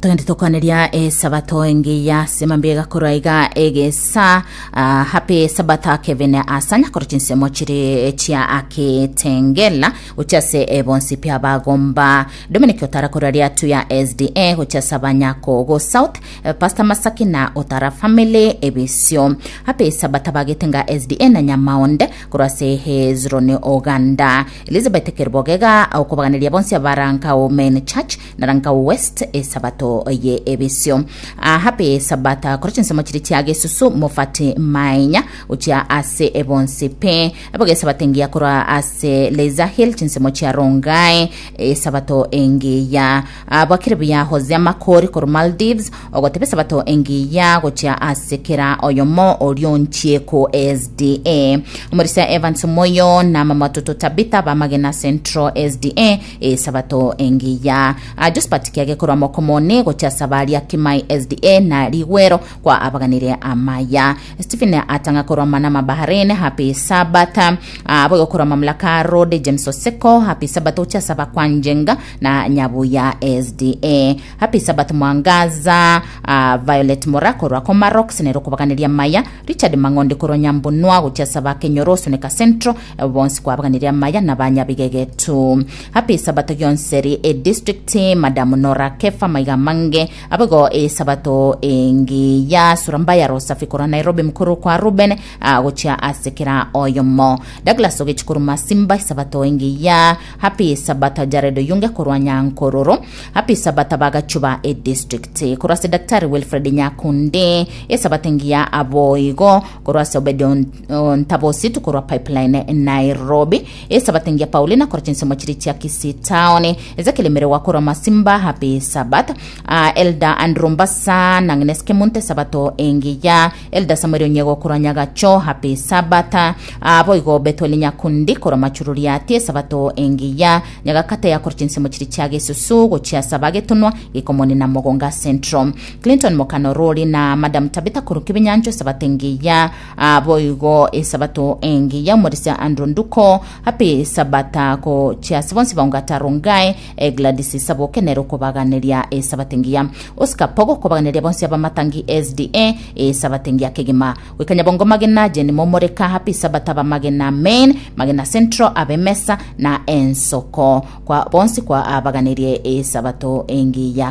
Togende tokwaneria esabato engiya ase mambia egakorwa iga egesa ah, happy sabata Kevin Asanya korwa chinsemo chiri chia Akitengela gochia ase ebonsi pi abagomba Dominic Otara korwa riatu ya SDA gochia ase abanyakogo South eh, Pastor Masaki na Otara family ebisio happy sabata bagetenga SDA na Nyamaonde korwa ase Hezroni Oganda Elizabeth Kerubogega okobaganeria bonsi abarankao Main Church na Rankau West esabato ye ebisio. Ah, happy Sabata korwa chinsemo chiri chia Gesusu Mofati Mainya gochia ase ebonsi pe eboge esabato engiya korwa ase Leza Hill chinsemo chia Rongai esabato engiya Ah, bwakire buya Hosea Makori korwa Maldives ogoteba esabato engiya gochia ase kera oyomo orionchieko SDA Omorisia Evans Moyo na mama Toto Tabitha bamagena Central SDA Esabato engiya. Ah, Josephat kiage korwa Mokomoni gochia Sabaria Kimai SDA na Rigwero kwa abaganire amaya. Stephen atanga korwa Manama Bahrain happy Sabbath. Ah, boigo korwa Mamlaka Road James Oseko happy Sabbath gochia Saba kwa Njenga na Nyabuya SDA. Happy Sabbath Mwangaza ah, Violet Mora korwa Komarox nero kobaganiria amaya. Richard Mang'ondi korwa Nyambunwa gochia Saba Kenyoro Suneka Central Bonsi kwabaganirie amaya na banyabigegetu. Happy Sabato gionseri e district Madam Nora Kefa maiga amange abego e sabato engiya sura mbaya Rosafi korwa Nairobi mkuru kwa Ruben ah, gochia ase kera oyomo Douglas Ogechi korwa Masimba sabato engiya Happy Sabato Jared Oyunge korwa Nyankororo Happy Sabato bagachuba e district korwa ase Daktari Wilfred Nyakundi esabato engiya aboigo korwa ase Obedi Ntabositu korwa Pipeline Nairobi, Esabato engiya Paulina korwa chinsemo chiri chia Kisii Town, Ezekiel Emerewa korwa Masimba Happy Sabbath, uh, Elder Andrew Mbasa na Agnes Kemunto Esabato engiya, Elder Samuel Onyego korwa Nyagacho Happy Sabbath, uh, boigo Bethuel Nyakundi korwa Machururiati Esabato engiya, Nyagakate ya korwa chinsemo chiri chia Gesusu gochia Saba Getunwa Gikomoni na Mogonga Central, Clinton Mokano Rori na Madam Tabitha korwa Kibinyancho Esabato engiya Ah, boigo esabato engiya omorisia Andrew Nduko happy sabata gochia ase bonsi baungata Rongai eh, Gladys Saboke nere okobaganeria esabato engiya Oscar Pogo kobaganeria bonsi abamatangi SDA esabato engiya kegima goika Nyabongo Magena Jane Momoreka happy sabata abamagena Main Magena Central abemesa na ensoko kwa bonsi kwa abaganerie esabato engiya.